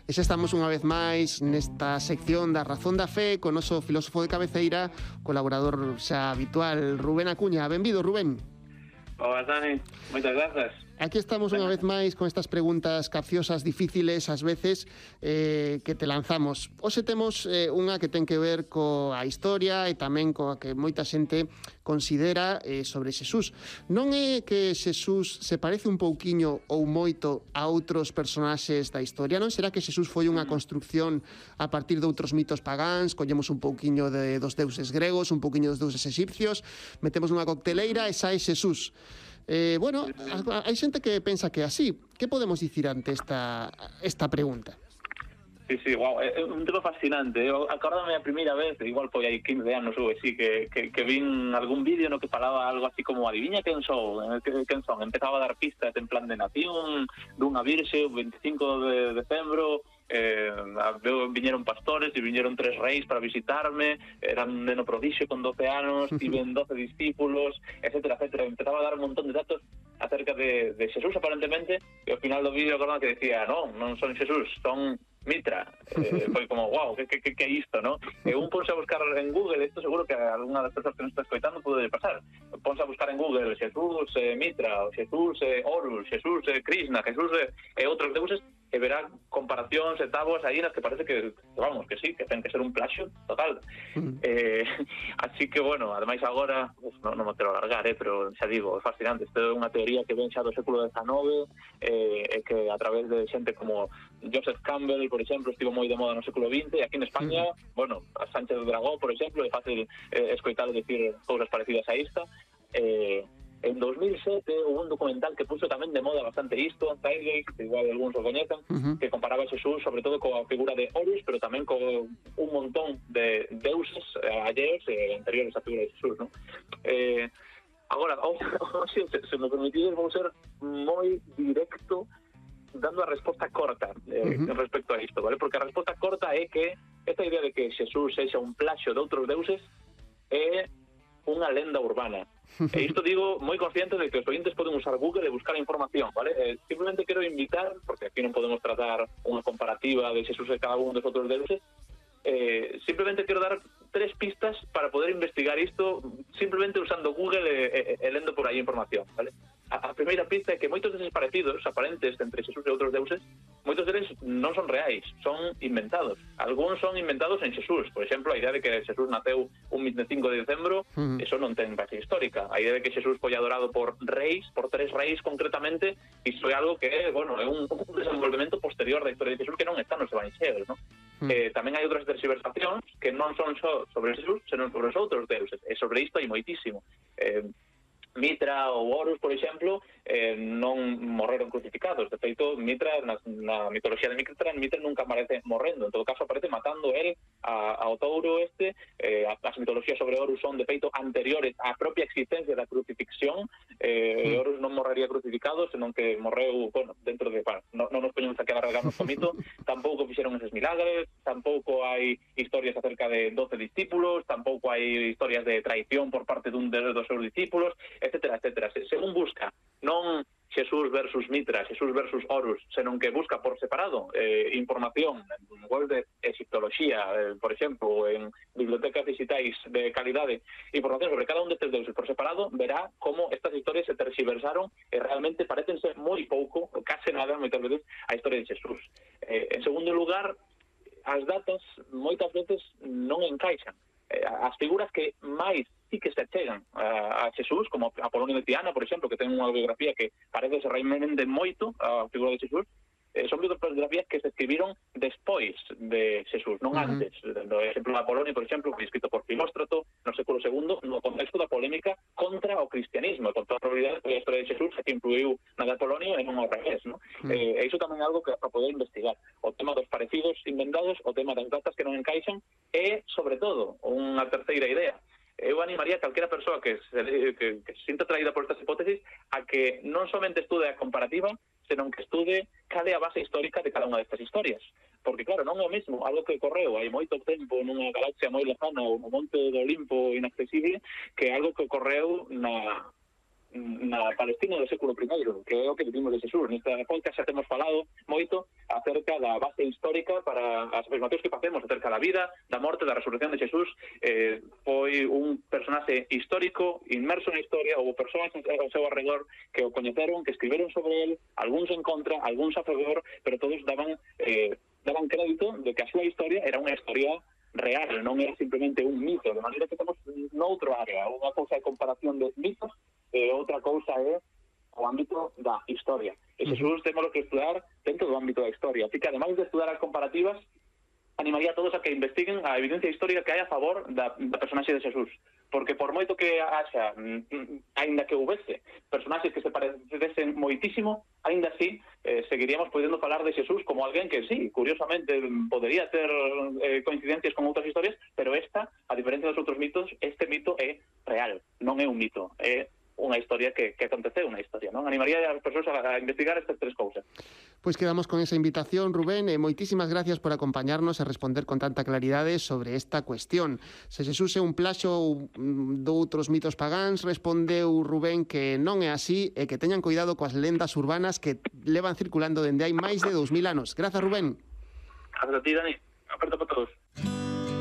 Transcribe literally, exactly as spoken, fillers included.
E xa estamos unha vez máis nesta sección da Razón da Fe con o noso filósofo de cabeceira, colaborador xa habitual, Rubén Acuña. Benvido, Rubén. Hola, Dani. Moitas grazas. Aquí estamos unha vez máis con estas preguntas capciosas, difíciles, ás veces, eh, que te lanzamos. Hoxe temos eh, unha que ten que ver coa historia e tamén coa que moita xente considera eh, sobre Xesús. Non é que Xesús se parece un pouquiño ou moito a outros personaxes da historia? Non será que Xesús foi unha construcción a partir de outros mitos pagáns? Collemos un pouquiño de, dos deuses gregos, un pouquiño dos deuses exipcios, metemos nunha cocteleira e sae Xesús. Eh, bueno, hai xente que pensa que é así. Que podemos dicir ante esta, esta pregunta? Sí, sí, wow, é un tema fascinante. Eu acordame a primeira vez, igual foi hai quince anos ou así, que, que, que vin algún vídeo no que falaba algo así como adiviña quen sou, quen son. Empezaba a dar pistas en plan de nación, dunha virxe, o veinticinco de decembro, eh, viñeron pastores e viñeron tres reis para visitarme, era un neno prodixio con doce anos, tiven doce discípulos, etcétera, etcétera. Empezaba a dar un montón de datos acerca de, de Xesús, aparentemente, e ao final do vídeo acordaba que decía, non, non son Xesús, son Mitra. Eh, foi como, wow, que, que, que é isto, no? E un ponse a buscar en Google, isto seguro que a alguna das persoas que nos está escoitando pode pasar. Ponse a buscar en Google Xesús eh, Mitra, Xesús eh, Horus, Xesús eh, Krishna, Xesús eh, e outros deuses, e verá comparacións e táboas aí nas que parece que, vamos, que sí, que ten que ser un plaxio total. Mm. Eh, así que, bueno, ademais agora, uf, non, non me quero alargar, eh, pero xa digo, é fascinante. Isto é unha teoría que ven xa do século dezenove, eh, e que a través de xente como Joseph Campbell, por exemplo, estivo moi de moda no século vinte, e aquí en España, mm. bueno, a Sánchez Dragó, por exemplo, é fácil eh, escoitar dicir cousas parecidas a esta. Eh, En dos mil sete hubo un documental que puso tamén de moda bastante isto, Zeitgeist, que igual algúns o coñecen, uh-huh. que comparaba a Xesús sobre todo coa figura de Horus, pero tamén con un montón de deuses eh, alleos e eh, anteriores á figura de Xesús, ¿no? Eh, agora, oh, oh, se, se me permitides, vou ser moi directo dando a resposta corta eh, uh-huh. respecto a isto, ¿vale? Porque a resposta corta é que esta idea de que Xesús sexa un plaxio de outros deuses é unha lenda urbana. E isto digo moi consciente de que os ointes poden usar Google e buscar a información, vale? Eh, simplemente quero invitar, porque aquí non podemos tratar unha comparativa de Xesús e cada un dos outros deuses, eh, simplemente quero dar tres pistas para poder investigar isto simplemente usando Google e, e, e lendo por aí información, vale? A, a primeira pista é que moitos deses parecidos aparentes entre Xesús e outros deuses, moitos deles non son reais, son inventados. Algúns son inventados en Xesús. Por exemplo, a idea de que Xesús naceu un veinticinco de decembro, uh-huh. eso non ten base histórica. A idea de que Xesús foi adorado por reis, por tres reis concretamente, iso é algo que é, bueno, é un, un desenvolvemento posterior da historia de Xesús que non está nos evanxelios, ¿no? Uh-huh. Eh, tamén hai outras tergiversacións que non son só sobre Xesús, senón sobre os outros deuses. E sobre isto hai moitísimo. Eh, Mitra ou Horus, por exemplo, eh, non morreron crucificados. De feito, Mitra, na, na mitoloxía de Mitra, Mitra nunca aparece morrendo. En todo caso, aparece matando él a, ao touro este. Eh, as mitoloxías sobre Horus son, de feito, anteriores á propia existencia da crucifixión. Eh, mm. Horus non morrería crucificado, senón que morreu, bueno, dentro de... Bueno, non, non nos poñemos a quedar regados co mito. Tampouco fixeron eses milagres, tampouco hai historias acerca de doce discípulos, tampouco hai historias de traición por parte dun dos seus discípulos, etcétera, etcétera. Se, según busca, non Xesús versus Mitra, Xesús versus Horus, senón que busca por separado eh, información en web de egiptoloxía, eh, por exemplo, en bibliotecas digitais de calidade, información sobre cada un destes deuses por separado, verá como estas historias se terxiversaron e realmente parecen ser moi pouco, case nada, moitas veces, a historia de Xesús. Eh, en segundo lugar, as datas moitas veces non encaixan. Eh, as figuras que máis sí que se achegan a, a Xesús, como Apolonio de Tiana, por exemplo, que ten unha biografía que parece se remende moito a figura de Xesús, eh, son biografías que se escribiron despois de Xesús, non uh-huh. antes. No exemplo de Apolonio, por exemplo, foi escrito por Filóstrato no século segundo, no contexto da polémica contra o cristianismo, con toda a probabilidade que a historia de Xesús que influiu na de Apolonio e non ao revés, ¿no? Uh-huh. Eh, iso tamén é algo que para poder investigar. O tema dos parecidos inventados, o tema das datas que non encaixan, e, sobre todo, unha terceira idea. Eu animaría a calquera persoa que se, que, que se sinta atraída por estas hipótesis a que non somente estude a comparativa, senón que estude cal é a base histórica de cada unha destas historias. Porque, claro, non é o mesmo algo que ocorreu hai moito tempo nunha galaxia moi lejana ou no monte do Olimpo inaccesible que algo que ocorreu na na Palestina do século primeiro, que é o que vivimos de Xesús. Nesta podcast xa temos falado moito acerca da base histórica para as afirmacións que facemos acerca da vida, da morte, da resurrección de Xesús. Eh, foi un personaxe histórico, inmerso na historia, houve persoas ao seu arredor que o coñeceron, que escribiron sobre él, algúns en contra, algúns a favor, pero todos daban eh, daban crédito de que a súa historia era unha historia real, non era simplemente un mito, de maneira que temos noutro área, unha cousa é comparación de mitos e outra cousa é o ámbito da historia. E Xesús temos que estudar dentro do ámbito da historia. Así que, ademais de estudar as comparativas, animaría a todos a que investiguen a evidencia histórica que hai a favor da, da personaxe de Xesús. Porque por moito que haxa, aínda que houvese personaxes que se parecesen moitísimo, aínda así eh, seguiríamos podendo falar de Xesús como alguén que sí, curiosamente, podería ter eh, coincidencias con outras historias, pero esta, a diferencia dos outros mitos, este mito é real, non é un mito, é unha historia que, que aconteceu, unha historia, non? Animaría as persoas a, a investigar estas tres cousas. Pois quedamos con esa invitación, Rubén, e moitísimas gracias por acompañarnos e responder con tanta claridade sobre esta cuestión. Se Xesús é un plaxo de outros mitos pagáns, respondeu Rubén que non é así e que teñan cuidado coas lendas urbanas que levan circulando dende hai máis de dous mil anos. Grazas, Rubén. Grazas a ti, Dani. Aperta para todos.